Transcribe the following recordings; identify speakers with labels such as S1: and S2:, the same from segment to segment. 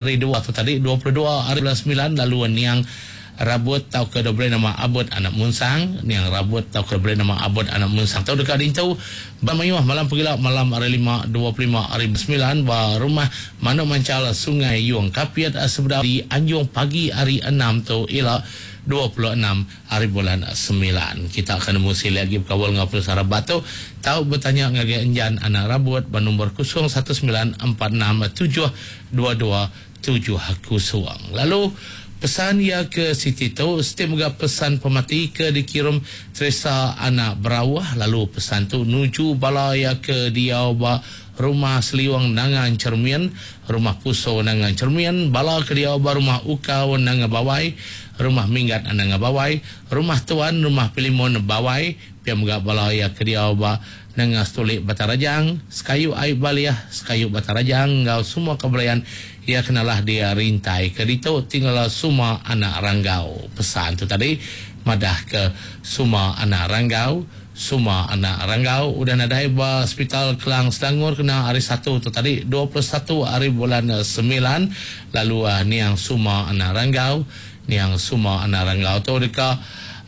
S1: Hari dua tu tadi, 22 hari bulan semilan lalu niang Rabut tauka diberi nama Abut Anak Munsang. Niang Rabut tauka diberi nama Abut Anak Munsang tu deka diintu ba mayuh malam pegila malam hari lima 25 hari bulan semilan ba Rumah Manuk Manchal Sungai Yong Kapit sebedau dianjung pagi hari enam tu ila 26 Hari bulan semilan. Kita ke nemu silik agi bekaul enggau penusah rabat tu, tau betanya ngagai Enjan Anak Rabut ba nombor 01946722 kosong. Lalu pesan iya ke siti tu, siti mega pesan pemati ke dikirum Teresa Anak Berauh lalu pesan tu nuju bala iya ke diau ba Rumah Seliung Nanga Enchermin, Rumah Puso Nanga Enchermin, bala ke diau ba Rumah Ukau Nanga Bawai, Rumah Minggat Nanga Bawai, Rumah Tuan, Rumah Pilimon Bawai, pia mega bala iya ke diau ba Nanga Setulik Batang Rajang, Sekayu Ai Balih, Sekayu Batang Rajang enggau semua kebelayan iya ke nalah di rintai ke ditu ti ngelala Suma Anak Ranggau. Pesan tu tadi madah ke Suma Anak Ranggau. Suma anak Ranggau udah nadai ba Sepital Kelang Selangor kena Hari Satu tu tadi 21 hari bulan semilan lalu niang Suma anak Ranggau niang Suma anak Ranggau tu deka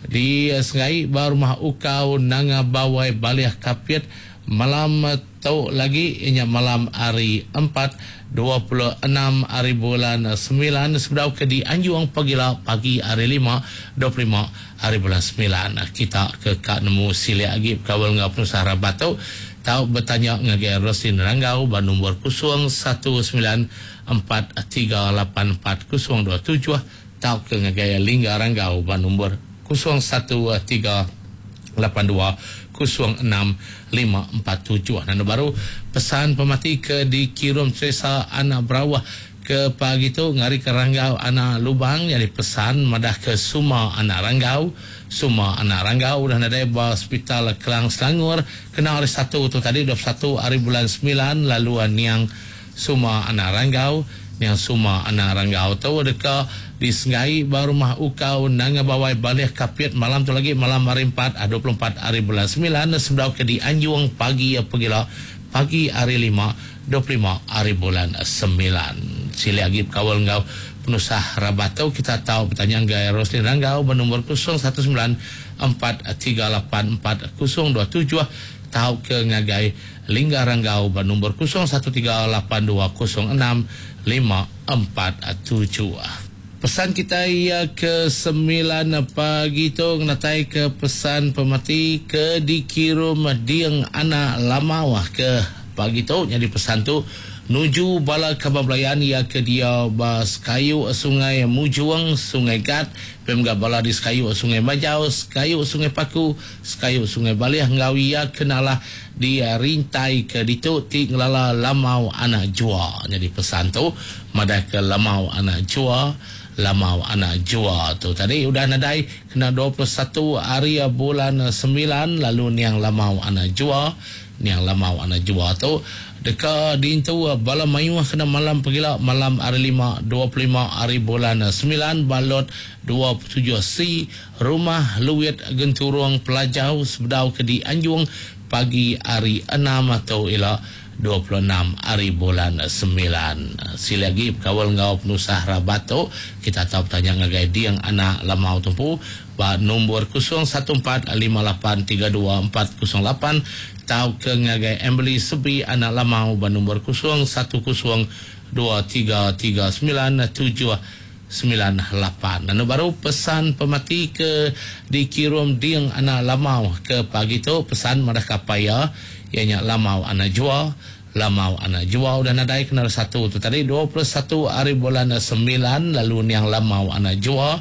S1: disengai ba Rumah Ukau Nanga Bawai Balih Kapit malam tu lagi iya nya malam hari Empat 26 hari bulan semilan sebedau ke dianjung pagila pagi hari Lima 25 hari bulan semilan. Kita ke ka nemu silik agi bekaul enggau penusah rabat tu tau betanya ngagai Roslin Ranggau ba nombor 0194384027 tauka ngagai Lingga Ranggau ba nombor 0138206547. Nandu baru pesan pemati ke dikirum Teresa Anak Berauh ke pagi tu ngarika Ranggau Anak Lubang nyadi pesan madahka Suma Anak Ranggau. Suma Anak Ranggau udah nadai ba Sepital Kelang Selangor kena Hari Satu tu tadi 21 hari bulan semilan lalu niang Suma Anak Ranggau. Niang Suma Anak Ranggau tu deka disenggai ba Rumah Ukau Nanga Bawai Balih Kapit malam tu lagi malam Hari Empat 24 hari bulan semilan sebedau ke dianjung pagi pegila pagi Hari Lima 25 hari bulan semilan. Silik agi bekaul enggau penusah rabat tu kita tau betanya ngagai Roslin Ranggau ba nombor 0194384027 tauka ngagai Lingga Ranggau ba nombor 0138206547. Pesan kitai iya ke semilan pagi tu ngenataika pesan pemati ke dikirum Ding Anak Lamau ke pagi tu nyadi pesan tu nuju bala kaban belayan iya ke diau ba sekayu Sungai Mujung, Sungai Gat, pia mega bala di sekayu Sungai Majau, sekayu Sungai Paku, sekayu Sungai Balih enggau iya ke nalah di rintai ke ditu ti ngelala Lamau Anak Jua. Nyadi pesan tu madahka Lamau Anak Jua, Lamau Anak Jua tu tadi udah nadai kena 21 hari bulan semilan lalu niang Lamau Anak Jua, niang Lamau Anak Jua tu deka diintu bala mayuh kena malam pegila malam hari lima 25 hari bulan semilan ba lot 27 C Rumah Luit Genturung Pelajau sebedau ke dianjung pagi hari enam tu ila 26 hari bulan semilan. Silik agi bekaul enggau penusah rabat tu, kita tau betanya ngagai Ding Anak Lamau Tumpu ba nombor 0145832408 tauka ngagai Emily Sebi Anak Lamau ba nombor 0102339798. Anu baru pesan pemati ke dikirum Ding Anak Lamau ke pagi tu pesan madah ka apai iya, iya nya Lamau Anak Jua. Lamau Anak Jua udah nadai kena hari Satu tu tadi 21 hari bulan semilan lalu niang Lamau Anak Jua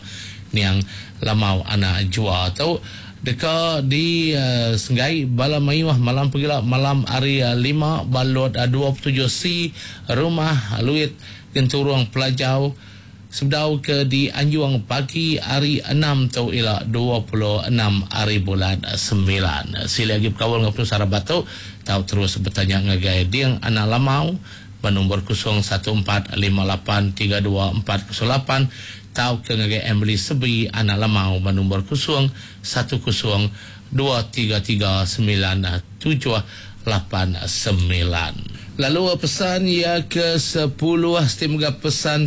S1: niang Lamau Anak Jua tu deka di senggai bala mayuh malam pegila malam hari lima ba lot 27 C Rumah Luit Genturung Pelajau sebedau ke dianjung pagi hari enam tu ila 26 hari bulan semilan. Silik agi bekaul enggau penusah rabat tu, tau terus betanya ngagai Ding Anak Lamau ba nombor 0145832408 tauka ngagai Emily Sebi Anak Lamau ba nombor 0102339789. Lalu pesan iya ke 10 siti mega pesan.